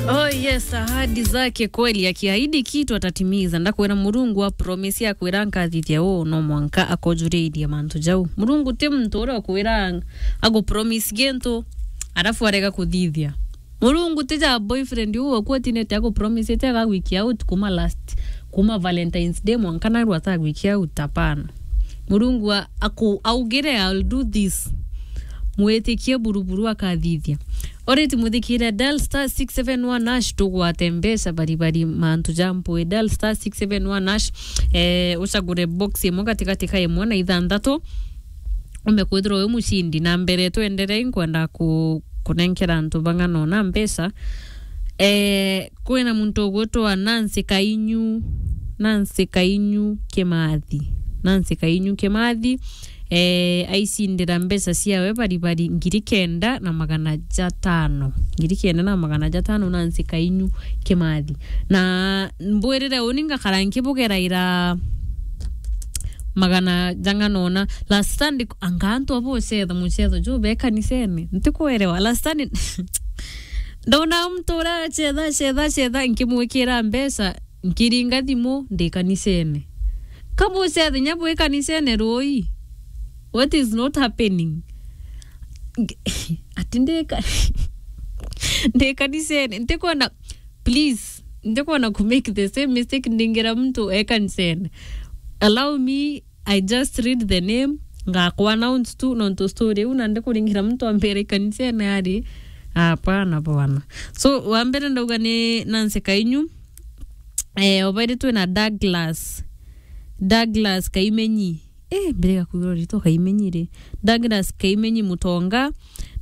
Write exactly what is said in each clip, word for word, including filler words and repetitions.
Oh yes, ahadi zake kweli, akiahidi kitu atatimiza. Ndakwira Murungu a promise akwira nkathithia uu, no mwanka akujuriirie mantu jau. Murungu ti muntu uria ukwira agu promise gintu arafu arega kuthithia. Murungu ti ja boyfriend uu waku atinete agu promise ete agagwikia out kuma last, kuma Valentine's Day mwanka naru atagwikia out, hapana. Murungu a-, aku-, augire, "I'll do this." Mwitikie buruburu akathithia. Alright, muthikire, dial star six seven one hash tugwate mbeca bari bari mantu ja mpui. Dial star six seven one hash, eh, ucagure box imwe gatigati ka imwe na ithanthatu. Umbe kwithirwa wi mucindi. Na mbere twenderei, nkwenda ku-, kunenkera antu bang'ana ona mbeca. Eh, kwina muntu ugwitwa Nancy Kainyu, Nancy Kainyu Kimathi, Nancy Kainyu Kimathi, eh, aicindira mbeca ciawe bari bari ngiri kenda na magana jatano, ngiri kenda na magana jatano, Nancy Kainyu Kimathi. Na mbwirire uni ngakara nkibugeraira magana jang'ana ona. Last Sunday, anga antu abo ucetha mucetho ju be kanisene? Ntikwerewa. Last Sunday, ndona muntu uria acetha, acetha, acetha, nkimwikira mbeca, nkiringa thimu, ndi kanisene. Kabucetha nya bwi kanisene rui? What is not happening? Nge-, ati ndi ka-, ndi kanisene. Ntikwenda, please, ntikwenda ku make the same mistake ndingira muntu e kanisene. Allow me, I just read the name, ngakwa announce tu, nontu story iu, na ndikuringira muntu ambere kanisene ari, hapana bwana. So, wa mbere ndauga ni Nancy Kainyu, eh, obairi twina Douglas, Douglas Kaimenyi. Eh, mbere ya kwigua ritwa Kaimenyi ri. Douglas Kaimenyi Mutonga,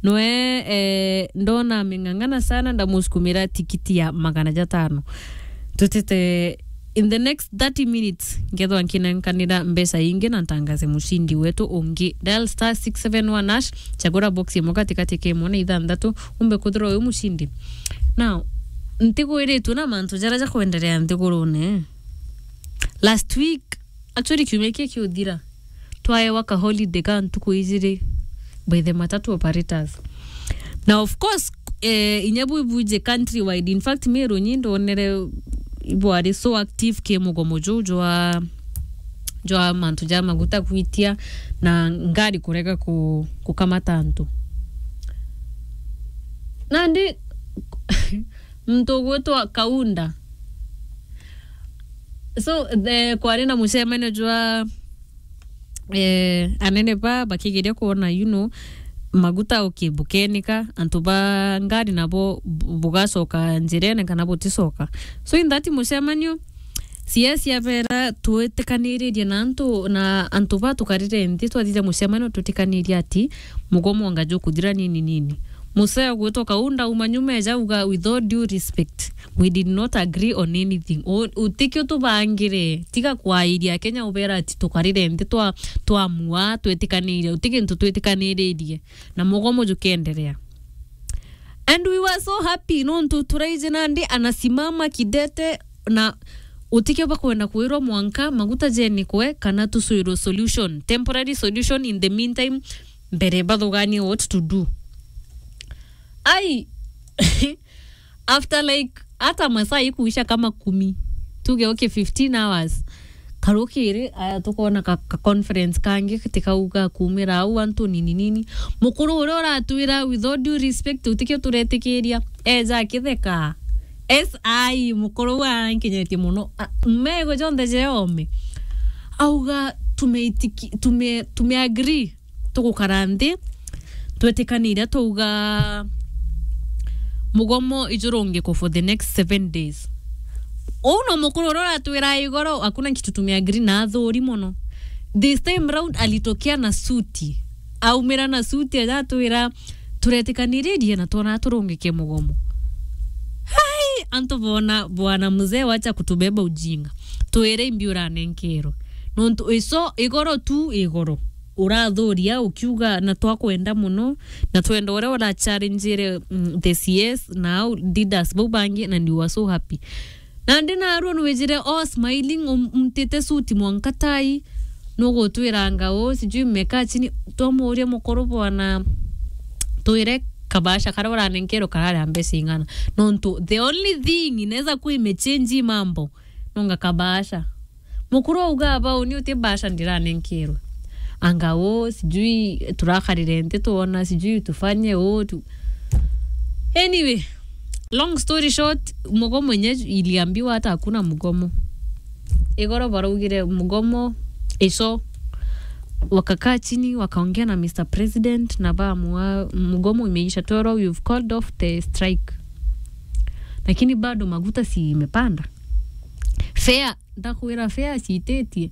noe, eh, ndona ameng'ang'ana sana, ndamusukumira tikiti ya magana jatano. Tutite in the next thirty minutes, ngethwa nkinenkanira mbeca ingi na ntangaze mucindi wetu ungi. Dial star six seven one hash, chagura box imwe katikati ka imwe na ithanthatu, umbe kwithirwa wi mucindi. Now, ntigwiritwe na mantu jaria jakwenderea nthigurune. Last week, actually, kiumia kii kiuthira, twaewa ka holiday ka ntuku ijiri by the matatu operators. Na of course, eh, inya bwibuje countrywide. In fact, Meru nyi ndonere ibwari so active ki mugomo juu jwa, jwa mantu ja maguta kwitia na ngari kurega ku-, kukamata antu. Nandi muntu ugwitwa Kaunda. So, the, kwari na mucemanio jwa, eh, anene ba bakigeria kwona, you know, maguta, okay, bukenika, antu ba ngari nabo bu-, bugacoka njirene kana buticoka. So, in that mucemanio, C S abera twitikaniririe na antu, na antu ba tukarire nthi, twathithia mucemanio twitikanirie ati mugomo anga jukuthira nini nini. Museo gwitwa Kaunda uma nyuma eja uga, "With all due respect, we did not agree on anything." U-, utikio tubangire, tiga kwairia Kenya ubera ati tukarire nthi twa-, twamua, twitikanire, uti gintu twitikaniririe. Na mugomo jukenderea. And we were so happy, nontu turaiji nandi anasimama kidete na utikio bakwenda kwirwa mwanka maguta jenikwe kana tucwirwe solution, temporary solution in the meantime, mbere bathuganie what to do. Ai, after, like, hata masaa ikuisha kama kumi, tuge, okay, fifteen hours, karukiri, aya, tukona ka, ka conference kangi tikauga kumira au antu nini nini. Mukuru uria uratwira, with all due respect, utikio turetikiria, eja akitheka. S I, mukuru uu arankinyitie mono. A, mego jonthe jeome. Auga, "Tumeitiki-, tume-, tumeagree, tugukara nthi, twetikanire, twauga mugomo ijurungikwe for the next seven days." Uu no mukuru uria uratwira igoro, "Hakuna kitu tumeagree," na athuri mono. This time round alitokea na suti. Aumira na suti, aja atwira, "Turetikaniririe na twona turungike mugomo." Hai, antu bona, "Bwana mzee, wacha kutubeba ujinga. Twire imbi uranenkerwe." Nontu iso igoro tu igoro. Urathuria ukiuga na twakwenda mono, na twenda uria urachallengeire, mm, the C S na au leaders bau bangi, na you are so happy. Nandi narua nwijire all smiling, um-, umtite suti mwanka tai, nugutwiranga uu, sijui mmekaa chini, twamuuria mukuru bwana, twire Kabasha karia uranenkerwe karari a mbeca ing'ana. Nontu the only thing inaweza kuwa imechange mambo, nonga kabasha. Mukuru auga, "Bau ni uti basha ndiranenkerwe." Anga, "Oh, sijui turakarire nti tuona, sijui tufanye, oh, tu." Anyway, long story short, mugomo mwenye iliambiwa hata hakuna mugomo. Igoro baraugire mugomo ico. Wakakaa chini, wakaongea na Mister President, na baamua mugomo imeisha, twero, "We've called off the strike." Lakini bado maguta si imepanda. Fare, ndakwira, fare ciititie.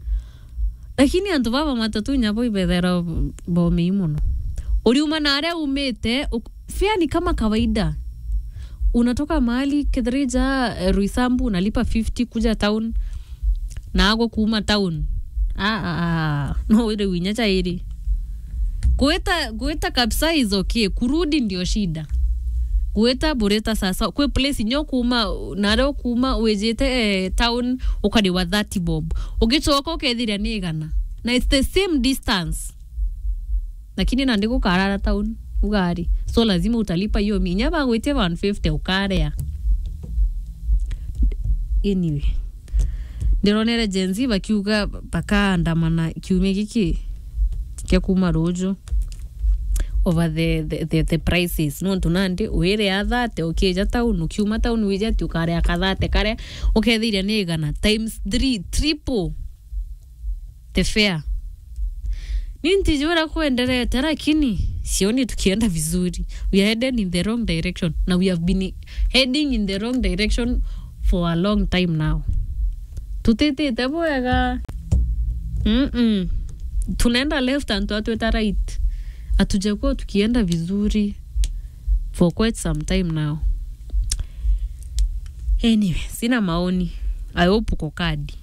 Lakini antu baba matatu nyabo ibethera bomei mono. Uriuma na aria umite, uk-, fare ni kama kawaida. Unatoka mahali Kithirija, eh, Roysambu, unalipa fifty kuja town, na ago kuuma town. Ah, ah, ah, no wire winya chairi. Gwita, gwita kabisa is okay. Kurudi ndio shida. Gwita burita sasa. Kwi place nyo kuuma, na aria ukuuma wijite, eh, town, ukariwa thirty bob. Ugicoka ukethiria ni igana. Na it's the same distance. Lakini nandi gukarara town, ugari. So lazima utalipa hiyo mi-, inya bagwitie one fifty ukaria. Anyway. Ndironere Gen Z bakiuga bakaandamana kiumia giki kia kuuma ruju over the, the, the, the prices. Nontu nandi wire a thirty, ukija town, ukiuma town wija ati ukaria ka thirty karia, ukethiria ni igana times three, triple the fare. Ni ntijui uria kwenderete, lakini sioni tukienda vizuri. We are heading in the wrong direction. Na we have been heading in the wrong direction for a long time now. Tutitite bwega. Mm-mm. Tunaenda left and twatwita right. Hatujakuwa tukienda vizuri for quite some time now. Anyway, sina maoni. I hope uko kadi.